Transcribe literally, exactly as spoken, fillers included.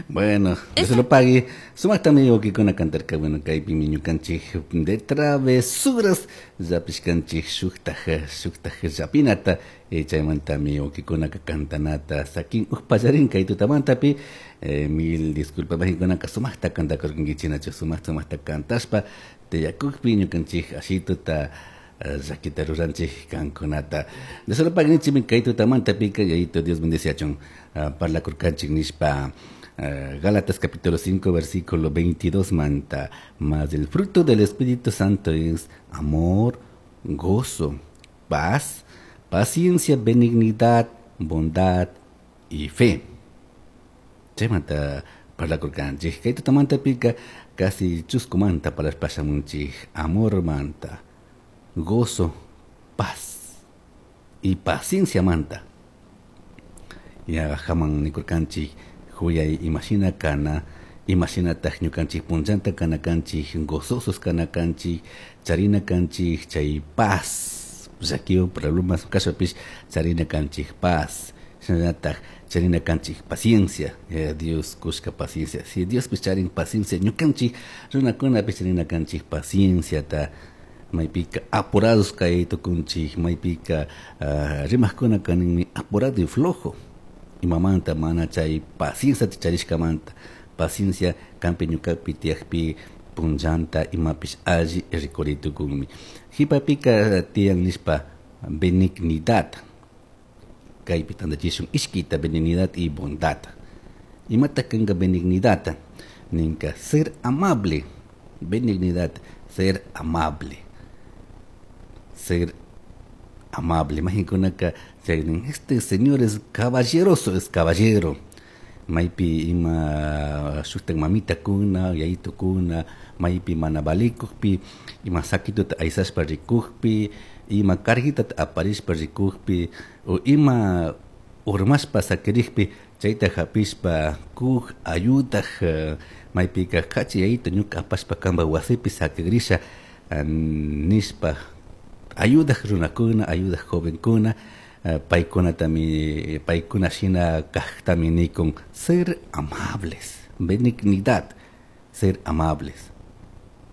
Bueno, Dios lo pague. Sumaktami wawaykuna cantarka, bueno, kaypimi ñukanchik de travesuras llapishkanchik shuktaj shuktaj llapinata eh, chaymantami wawqikunaka cantanata sakin upallarin kay tutamantapi eh, mil disculpas majikunaka sumaqta cantakurkankichik nachu sumaq sumaqta cantashpa tiyakukpi ñukanchik ashituta llakita ruranchik kankunata. Dios lo pague nichimi kay tutamantapika yayito Dios bendeciachun parlakurkanchik nishpa Uh, Gálatas capítulo cinco versículo veintidós manta, mas el fruto del Espíritu Santo es amor, gozo, paz, paciencia, benignidad, bondad y fe. Chaymanta parlakurkanchik kay tutamantapika casi chuskumanta parlashpamunchik amor manta, gozo, paz y paciencia manta. Ya haman nikurkanchik huyay imashina kana, imashinataj ñukanchik punllanta kana kanchik, gozosos kana kanchik, charina kanchik, chay paz, llakiwan problemas kashpapish charina kanchik paz, shinallataj charina kanchik paciencia, eh, Dios kushka paciencia, si Diospish charin paciencia, ñukanchik runakunapish charina kanchik pacienciata, maypika apurados kay tukunchik, maypika uh, rimajkuna kaninmi apurado y flojo, imamanta mana chay paciencia charishkamanta, paciencia kampi ñukapi tiyakpi punllanta imapish alli rikuritukunmi. Jipapika tiyan nishpa benignidad, kaypi tantachishun ishkita benignidad y bondad. Imata kanka benignidad, ninka ser amable, benignidad, ser amable, ser amable. Imaginkunaka este señor es caballeroso, es caballero. Maypi ima shuktak mamita kuna, yayito kuna, maypi mana valikukpi, ima sakituta aysashpa rikukpi, ima carguitata aparishpa rikukpi, o ima urmashpa sakirikpi, chayta hapishpa kuj ayudak, maypika kachi yayito ñuka apashpa kanpa wasipi sakigrisha nishpa ayudak runakuna, ayudak jovenkuna, uh, paykunatami, paykuna shina kajtami nikun ser amables, benignidad, ser amables.